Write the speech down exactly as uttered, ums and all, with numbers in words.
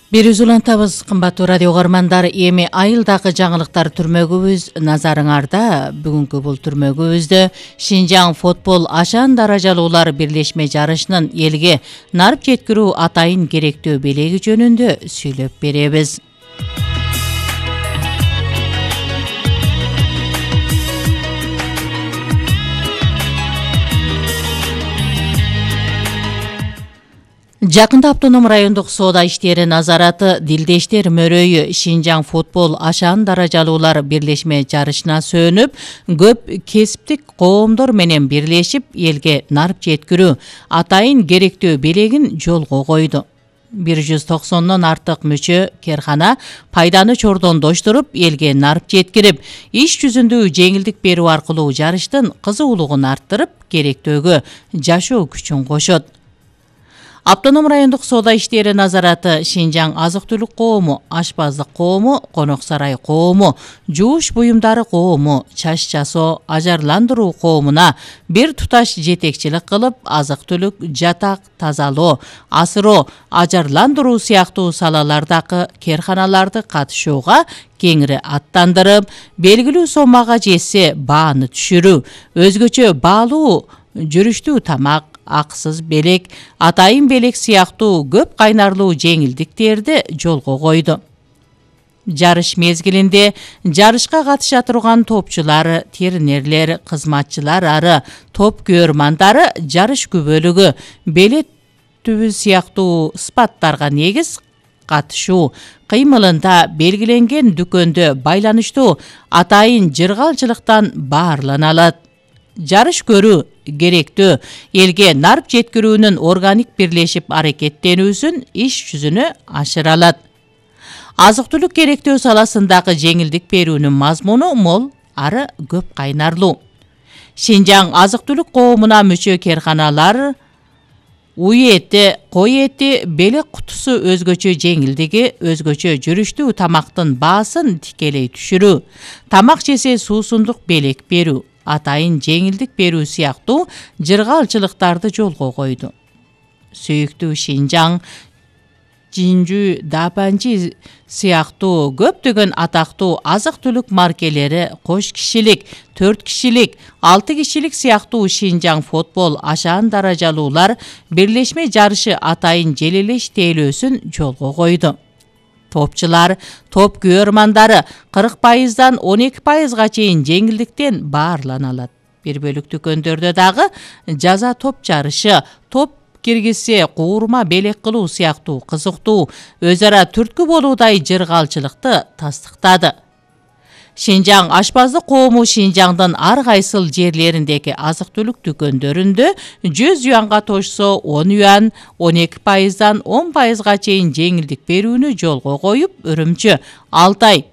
Бир үзүлантабыз кымбаттуу радио угармандар, эми айылдагы жаңылыктар түрмөгүбүз назарыңарда. Бүгүнкү бул түрмөгүбүздө Шинжаң футбол ашан даражалуулар бирлешме жарышынын элге нарып жеткирүү атайын керектөө белеги жөнүндө сүйлөп беребиз. Жакында автоном райондук соода иштери назараты Дилдештер мөрөйү Шинжаң футбол ашан даражалуулар бирлешме жарышына сөнүп, көп кесиптик коомдор менен бирлешип элге нарып жеткирүү атайын керектөө белегин жолго койду. бир жүз токсондон артык мүчө керхана пайданы чордондоштуруп, элге нарып жеткирип, иш жүзүндө жеңилдик берүү аркылуу жарыштын кызуулугун арттырып, керектөөгө жашоо күчүн кошот. Автоном райондук соода иштери назараты Шинжаң азык-түлүк коому, ашпаздык коому, конок сарай коому, жууш буюмдары коому, чач жасоо, ажарландыруу коомуна бир туташ жетекчилик кылып, азык-түлүк, жатак, тазалоо, асыроо, ажарландыруу сыяктуу салалардагы керханаларды катышууга кеңири аттандырып, белгилүү сомага жетсе бааны түшүрүү, өзгөчө баалуу жүрүштүү тамак, аксыз белек, атайын белек сыяктуу көп кайнарлуу жеңилдиктерди жолго койду. Жарыш мезгилинде жарышка катыша турган топчулар, тернерлер, кызматчылар ары, топ көрмандары жарыш күбөлүгү, белет түбү сыяктуу спаттарга негиз катышуу кыймылында белгиленген дүкөндө байланыштуу атайын жыргалчылыктан баарлана алат. Жарыш көрүү керектөө элге нарып жеткирүүнүн органик бирлешип аракеттенүүсүн иш жүзүнө ашыра алат. Азык-түлүк керектөө саласындагы жеңилдик берүүнүн мазмуну мол, ары көп кайнарлуу. Шинжаң азык-түлүк коомуна мүчө керханалар уй эти, кой эти, белек кутусу өзгөчө жеңилдиги, өзгөчө жүрүштүү тамактын баасын тикелей түшүрүү, тамак жесе суусундук белек берүү, атайын жеңилдик берүү сыяктуу жыргалчылыктарды жолго койду. Сүйүктүү Шинжаң, Жинжүү, Дапанчи сыяктуу көптөгөн атактуу азык-түлүк маркелери кош кишилик, төрт кишилик, алты кишилик сыяктуу Шинжаң футбол ашан даражалуулар бирлешме жарышы атайын желелеш тейлөөсүн жолго койду. Топчулар, топ көрмандары кырк пайыздан он эки пайызга чейин жеңилдиктен баарлана алат. Бир бөлүк дүкөндөрдө дагы жаза топ жарышы, топ киргизсе куурма белек кылуу сыяктуу кызыктуу, өз ара түрткү болуудай жыргалчылыкты тастыктады. Шинжаң ашпаздык коому Шинжаңдын ар кайсыл жерлериндеги азык-түлүк дүкөндөрүндө жүз юанга тошсо он юан, он эки пайыздан он пайызга чейин жеңилдик берүүнү жолго коюп, Үрүмчү, Алтай,